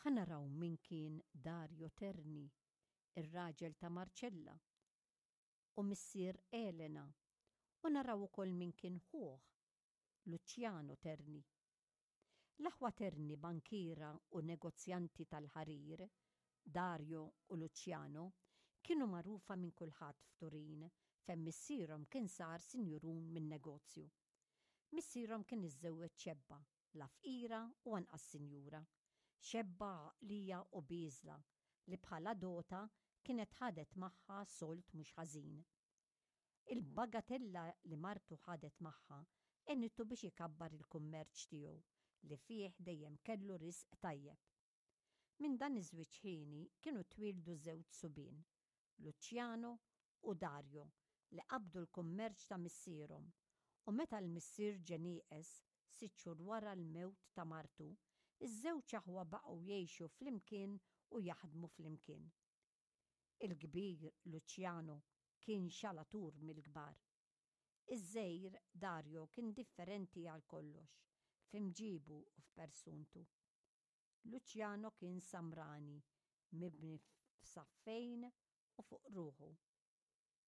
Ħa naraw min kien Dario Terni, ir-raġel ta' Marcella u missier Elena, u naraw ukoll min kien ħuh, Luciano Terni. L-aħwa Terni bankiera u negozjanti tal-ħarir, Dario u Luciano, kienu magħrufa minn kulħadd f'Turin fejn missierhom kien sar sinjurun min-negozju. Missierhom kien iżżewweġ xebba, la fqira u anqas sinjura, xebba għaqlija u bieżla li bħala dota kienet ħadet magħha sold mhux ħażin. Il-bagatella li martu ħadet magħha għenitu biex ikabbar il-kummerċ tiegħu li fih dejjem kellu risq tajjeb. Minn dan iż-żwieġ ħieni kienu twieldu żewġ subien, Luciano u Dario li qabdu l-kummerċ ta' missierhom u meta l-missier ġie nieqes sitt xhur wara l-mewt ta' martu, iż-żewġ aħwa baqgħu jgħixu flimkien u jaħdmu flimkien. Il-kbir, Luciano, kien xalatur mill-kbar. Iż-żgħir, Dario, kien differenti għal kollox, f'imġibu u f'persuntu. Luciano kien samrani, mibni f'saffejn u fuq ruħu.